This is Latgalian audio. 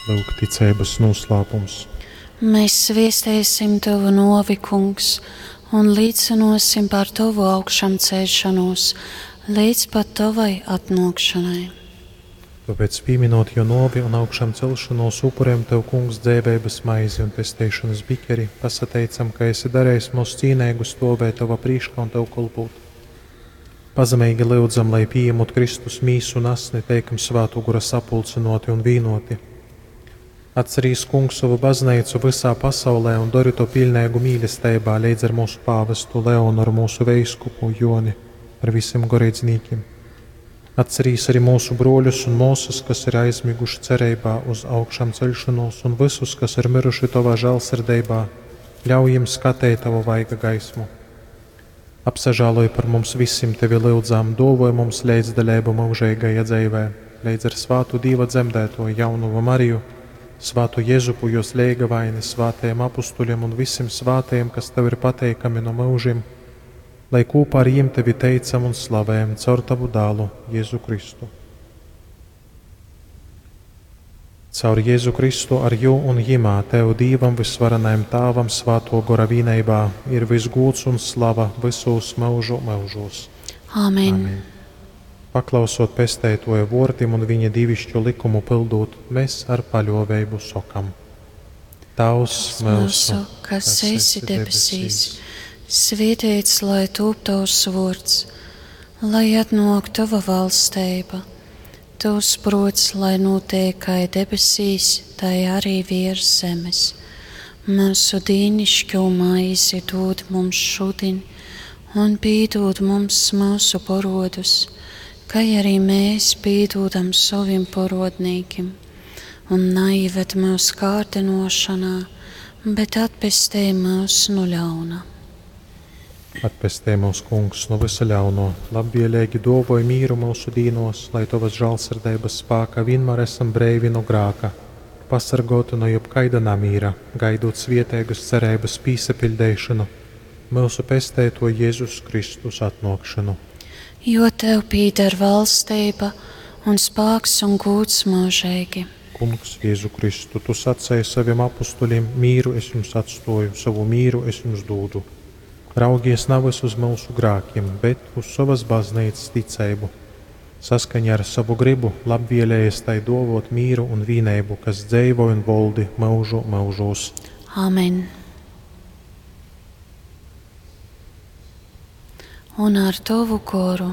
Lyuk ticeibas nūslāpums. Mēs sviestēsim Tavu novi, Kungs, un līcinosim par Tavu augšamceļšanos līdz pat Tavai atnākšanai. Tāpēc, pieminot jo novi un augšām celšanos, upurējam Tev, Kungs, dzēveibas maizi un pesteišanas bikeri, pasateicam, ka esi darījis mūs cīnēgu stovēt Tava prīškā un Tev kolpūt. Pazemīgi lyudzam, lai pieņemot Kristus mīsu un asni, teikam svātu gura sapulcinoti un vīnoti. Atcerīs, Kungs, savu baznīcu visā pasaulē un dori to pilnīgu mīlestībā līdz ar mūsu pāvestu Leonoru, mūsu veiskupu Joni, ar visiem goreidznīkiem. Atcerīs arī mūsu broļus un māsas, kas ir aizmiguši cerībā uz augšām ceļšanos, un visus, kas ir miruši tavā žēlsirdībā, ļauj jiem skatīt tavu vaiga gaismu. Apsažāloj par mums visiem tevi lūdzām, dovoj mums līdzdaļību mūžīgajā dzīvē, līdz ar svātu Dieva dzemdēto jaunumu Mariju, svātu Jēzupu, jos leigavaini, svātajiem apustuļiem un visiem svātajiem, kas tev ir pateikami no mūžiem, lai kopā ar jiem tevi teicam un slavējam caur tavu dālu Jēzu Kristu. Caur Jēzu Kristu ar jū un jimā tev Dīvam visvarenajam Tāvam svāto gora vīneibā ir visgūts un slava visos mūžu mūžos. Āmen. Amen. Paklausot pesteitoja vortim un viņa divišķo likumu pildot, mēs ar paļoveibu sokam. Tavs mūsu, kas esi debesīs, svētīts lai tūp tavs vārds, lai atnāk tava valstība, tavs prots, lai notiek kā debesīs, tai arī virs zemes. Mūsu dīnišķo maizi dod mums šodien, un pīdod mums mūsu porodus, kā arī mēs pīdodam saviem porodnīkim. Un naivet mūsu kārdinošanā, bet atpestē mūs no ļauna. Atpestē mūs, Kungs, no visa ļauno, labvēlīgi dovoj mīru mūsu dīnos, lai tavas žēlsirdības spāka vienmēr esam breivi no grāka, pasargoti no jebkaida namīra, gaidot svietēgas cerības pīsapildēšanu, mūsu pestēto Jēzus Kristus atnākšanu. Jo tev pīder valstība un spāks un gūts mūžīgi. Kungs, Jēzu Kristu, tu sacēji saviem apustuļiem, mīru es jums atstoju, savu mīru es jums dūdu. Raugies nevis uz mūsu grākiem, bet uz savas baznīcas ticību. Saskaņā ar savu gribu labvēlējies tai dovot mīru un vīneibu, kas dzeivo un voldi mūžu mūžos. Amen. Un ar tavu goru.